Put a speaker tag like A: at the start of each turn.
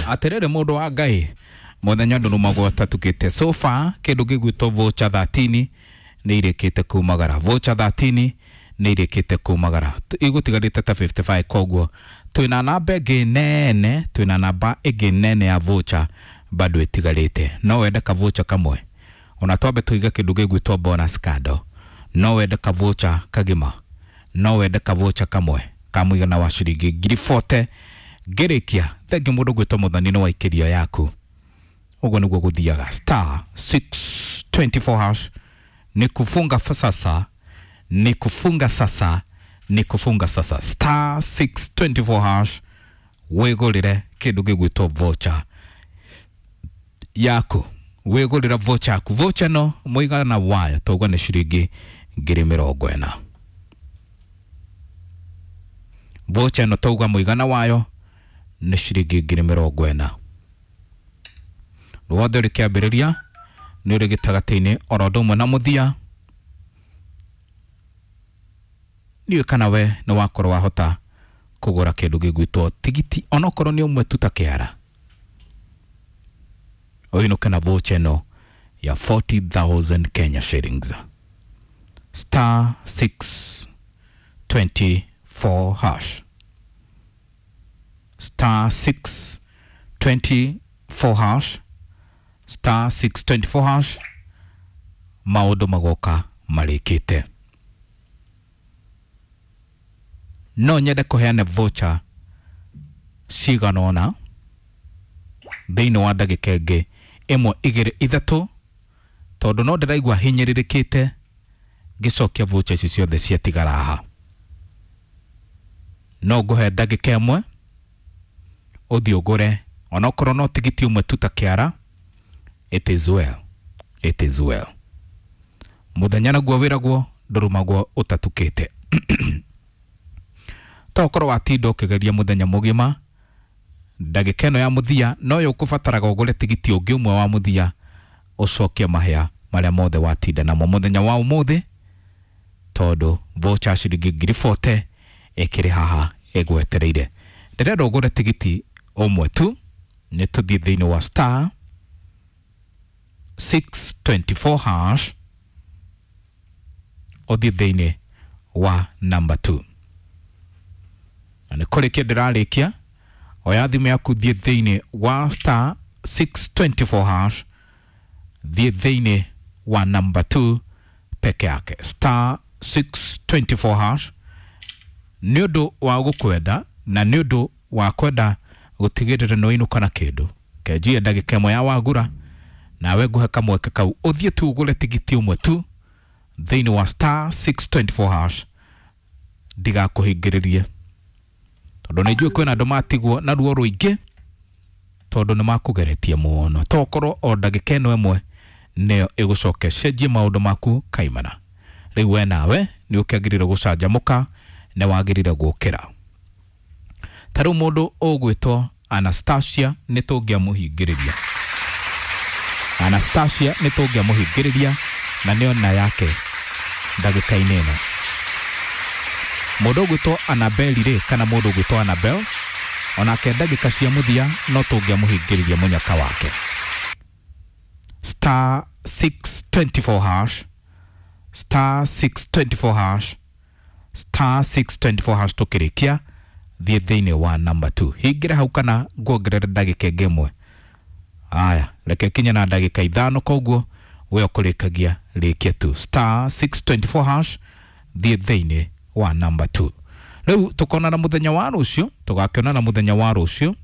A: Atiriri mundu wa Ngai, muthenya ndurumagwo tatukite. So far kindu gigwitwo voucher 13 nĩ irĩkĩte kumagara. Voucher 13 nĩ irĩkĩte kumagara, igũtigarĩte ta 55. Koguo twĩna namba ĩngĩ nene, twĩna namba ĩngĩ nene ya voucher bado ĩtigarĩte. No wende ka voucher kamwe, ona twambe tũige kĩndũ gĩgwĩtwo bonus kando. No wende ka voucher kagima, no wende ka voucher kamwe ka mũigana wa ciringi 40,000. Ngĩrĩkia thengi mũndũ gwĩtwo Mũthani nĩ waikĩrio yaku. Ũguo nĩguo gũthiaga. Star 624 hash. Ni kufunga sasa, ni kufunga sasa, ni kufunga sasa. Star 624 hash, wĩgũrĩre kĩndũ gĩgwĩtwo voucher yaku. Wĩgũrĩra voucher yaku. Voucher no mũigana wayo tauga nĩ ciringi 40,000. Voucher ĩno tauga mũigana wayo nĩ ciringi 40,000. Ruothe ũrĩ kĩambĩrĩria nĩ ũrĩ gĩtagatĩ-inĩ oro ũndũ ũmwe na mũthia. Ndiũĩ kana we nĩ wakorwo wahota kũgũra kĩndũ gĩgwĩtwo tigiti, onokorwo nĩ ũmwe tu ta kĩara, ũinũke na voucher ĩno ya 40,000 Kenya shillings. Star 624 hash, star 624 hash, star 624 hash. Maũndũ magoka marĩkĩte. No nyende kũheana voucher cigana ũna thĩinĩ wa ndagĩka ĩngĩ ĩmwe, igĩrĩ, ithatũ, tondũ no ndĩraigua hinyĩrĩrĩkĩte ngĩcokia voucher ici ciothe ciatigara haha. No ngũhe ndagĩka ĩmwe ũthiĩ ũgũre onokorwo no tigiti ũmwe tu ta kĩara. It is well, it is well. Mũthenya naguo wĩragwo ndũrumagwo ũtatukĩte. To ũkorwo watinda ũkĩgeria mũthenya mũgima, ndagĩka ĩno ya mũthia noyo ũkũbataraga ũgũre tigiti ũngĩ ũmwe wa mũthia, ũcokie mahĩa marĩa mothe watinda namo mũthenya wa ũmũthĩ, tondũ voucher ciringi 40,000 ĩkĩrĩ haha ĩgwetereire. Ndĩrenda ũgũre tigiti ũmwe tu. Nĩ tũthiĩ thĩinĩ wa star 624 hash, ũthiĩ thĩinĩ wa number 2. Na nĩ kũrĩkia ndĩrarĩkia. Oya thimũ yaku, thiĩ thĩinĩ wa star 624 hash, thiĩ thĩinĩ wa number 2 peke yake. Star 624 hash. Nĩ ũndũ wa gũkwenda na nĩ ũndũ wa kwenda gũtigĩrĩra nĩ wainũka na kĩndũ, kenjie ndagĩka ĩmwe ya wagura, nawe ngũhe kamweke kau ũthiĩ tu ũgũre tigiti ũmwe tu thĩinĩ wa star 624 hash. Ndigakũhingĩrĩrie, tondũ nĩ njũĩ kwĩna andũ matigwo na ruo rũingĩ, tondũ nĩ makũgeretie mũno. Tokorwo o ndagĩka ĩno ĩmwe nĩyo ĩgũcoke cenjie maũndũ maku kaimana. Rĩu we nawe nĩ ũkĩagĩrĩire gũcanjamũka, nĩ wagĩrĩire gũkĩra. Ta rĩu mũndũ ũgwĩtwo Anastasia nĩ tũngĩamũhingĩrĩria. Anastasia nĩ tũngĩamũhingĩrĩria na nĩyo na yake ndagĩka-inĩ ĩno. Mũndũ ũgwĩtwo Anabel rĩ, kana mũndũ ũgwĩtwo Anabel, onake ndagĩka cia mũthia no tũngĩamũhingĩrĩria mũnyaka wake. Star 624 hash, star 624 hash, star 624 hash. Tũkĩrĩkia thiĩ thĩinĩ wa number 2, hingĩre hau, kana nguongerere ndagĩka ĩngĩ ĩmwe. Aya, reke kinye na ndagĩka 5. Koguo we ũkũrĩkagia rĩkia tu star 624 hash, thiĩ thĩinĩ wa number 2. Rĩu tũkonana mũthenya wa rũciũ, tũgakĩonana mũthenya wa rũciũ.